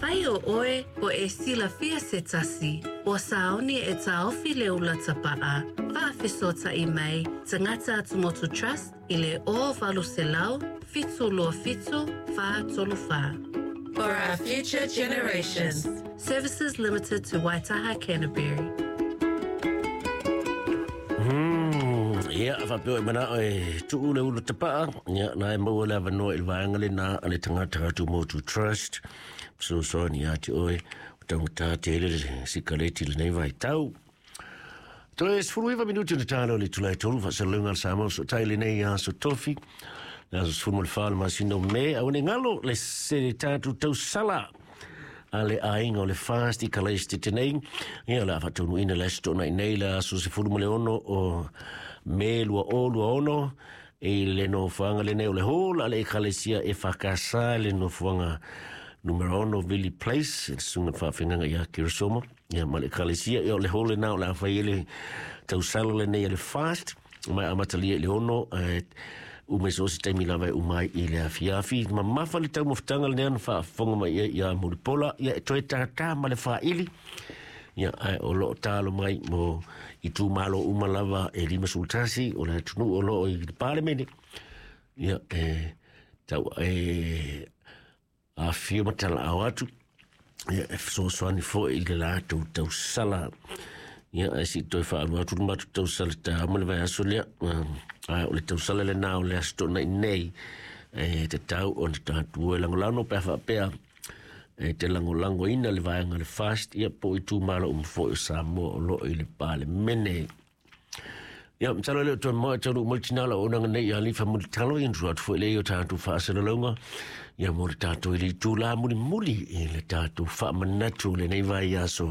Afai o oe o e silafia se tasi, ua saoni e taofi le ula tapa'a, faafesootai mai Tagata Atumotu Trust i le 0800 727 434. For our future generations. Services limited to Waitaha, Canterbury. Ia, faapea e manao e tuu le ula tapaa, ia, na e maua le avanoa i le vaega lena a le Tagata Atumotu Trust, fesoasoani ia te oe, o taugata tele le sikaleti i lenei vaitau. Toe 19 minuti ona talo le itula e 3 faasalalauga a le Samoa Fesootai lenei aso Tofi, le aso 14 o le masina o Me, aua ne i galo le se tatou tausala a le aiga o le FAST i Kalaisitete nei. Ia, o le a faataunuuina le aso Toonai nei, le aso 16 o Me 2026, i le nofoaga lenei o le Hall a le Ekalesia EFKS i le nofoaga numera 6 Vili Place, le susuga i le faafeagaiga ia Keresoma, ia ma le Ekalesia. Ia, o le hall lena o le a fai ai le tausala lenei a le FAST, mai amatalia i le 6, uma i so o se taimi lava e uma ai i le afiafi. Mamafa le taumafataga lenei ona faafofoga mai ai ia Mulipola, ia e toe tātā ma le faaili. Ia, ae o lo o talo mai mo itumalo uma lava e 51 o le atunuu o lo o i le Palemene. Ia, e tau e afifio ma talaao atu, ia, e fesoasoani foi i le latou tausala. Ia, ae se i toe faalua atu le matou tausala taeao ma le vaiaso lea. Ae o le tausala lena o le Aso Toonai nei, e tatau ona tatou o e lagolago pe a faapea e te lagolagoina le vaega le FAST, ia po o itumalo uma foi o Samoa o lo o i le Palemene. Ia, masalo e le o toe mamao e taunuu mai le tina o le auaunaga nei ia Alifa Mulitalo, ia ona tuu atu foi lea i o tatou faasalalauga, ia mo le tatou i le itula mulimuli i le tatou faamanatu o lenei vaiaso.